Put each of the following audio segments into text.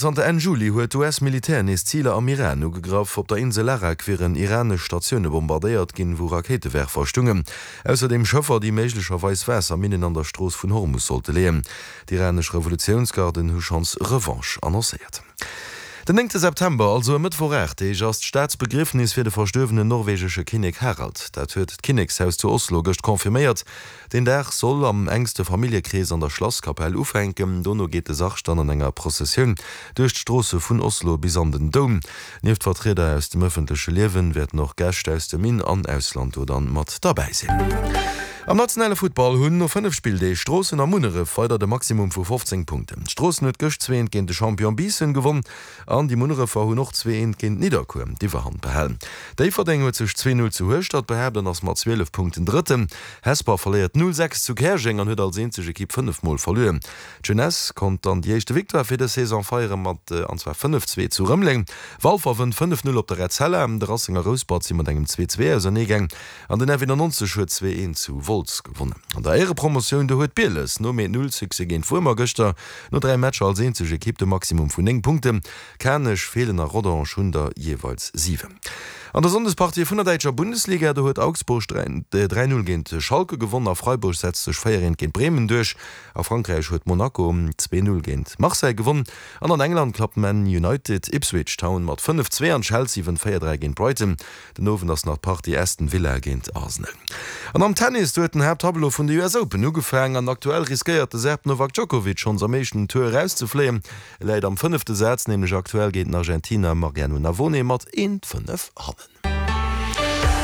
Zanter Enn Juli huet d'US-Militär nees Ziler am Iran ugegraff. Op der Insel Larak wieren iranesch Statioune bombardéiert ginn, wou Rakéitewerfer stungen. Ausserdeem Schëffer, déi méiglecherweis Waasserminnen an der Strooss vun Hormus sollte leeën. D'iranesch Revolutiounsgarden hu schonns Revanche annoncéiert. Den néngte September, also e Mëttwoch 8 Deeg, ass d'Staatsbegriefnis fir de verstuerwenen norwegesche Kinnek Harald. Dat huet d'Kinnekshaus zu Oslo gëscht confirméiert. Deen Dag soll am enkste Familljekrees an der Schlasskapell ufänken. Dono geet de Sarg dann an enger Prozessioun duerch d'Stroosse vun Oslo bis an den Doum. Nieft Vertrieder aus dem ëffentleche Liewen wäerten och Gäscht aus dem In an Ausland do dann mat derbäi sinn. Am nationale Futtball hunn no 5 Spilldeeg Stroossen a Munneref weider de Maximum vu 15 Punkten. Stroossen huet gëscht 2 eent géint de Champion Biissen gewonn. An déi Munnerefer hunn och 2 eent géint Nidderkuer d'Iwwerhand behalen. Déifferdeng huet sech 2 Null zu Hueschtert behaapt an ass mat 12 Punkten Drëtten. Hesper verléiert 0 6 zu Käerjeng an huet als eenzeg Ekipp 5 Mol verluer. D'Jeunesse konnt dann déi éischte Victoire fir dës Saison feiere mat an zwar 5 2 zu Rëmeleng. Walfer wënnt 5 0 op der Etzella. De Racing a Rouspert si mat engem 2 2 auserneegaang an den F91 huet 2 1 zu Wolz gewonnen. An der Éierepromotioun do huet Bieles nom 1 0 Succès géint Wuermer gëschter no 3 Matcher als eenzeg Ekipp de Maximum vun 9 Punkten. Kanech, Feelen a Rodange hunn der jeeweils 7. An der Sonndespartie vun der däitscher Bundesliga, do huet Augsburg 3, 0 géint Schalke gewonn a Freiburg setzt sech 4, 1 géint Bremen duerch. A Frankräich huet Monaco 2, 0 géint Marseille gewonn an an England klappt Man United Ipswich Town mat 5, 2 an Chelsea wënnt 4, 3 géint Brighton. Den Owend ass nach d'Partie Aston Villa géint Arsenal. An am Tennis, do huet den Haapttableau vun de US Open ugefaang an aktuell riskéiert de Serb Novak Djokovic schonns am éischten Tour erauszefléien. E läit am fënnefte Saz nämlech aktuell géint den Argentiner Mariano Navone mat 1, 5 hannen.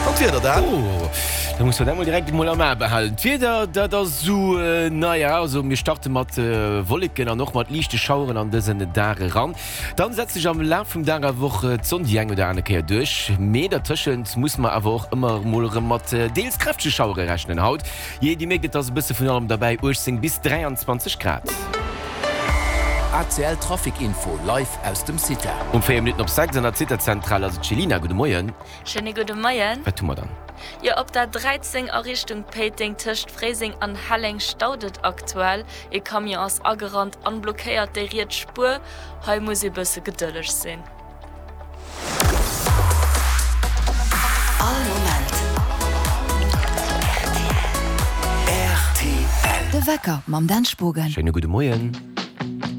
An d'Wieder dann? Oh, da muss mer dat mol direkt emol am A behalen. D'Wieder, dat ass esou, naja, also mir starte mat Wolleken an och mat liichte Schaueren an dësen Dag eran. Dann setzt sech am Laf vum Dag awer och d'Sonn déi eng oder aner Kéier duerch, mee dertëschent muss mer awer och ëmmer mol erëm mat deels kräftege Schauere rechnen haut. Jee, Dir mierkt, et ass e bësse vun allem derbäi, 18 bis 23 Grad. ACL Trafic Info live aus dem CITA. Um 4 Minutten op 6 an der CITA-Zentral ass et d'Chelina. Gudde Moien. Schéine gudde Moien. Wat hu mer dann? Jo, op der 13 a Richtung Péiteng tëscht Fréiseng an Helleng staut et aktuell. Ee Camion ass agerannt an blockéiert déi riets Spuer. Hei muss ee bësse gedëlleg sinn. All Moment rtl. De Wecker mam Dan Spogen. Schéine gudde Moien.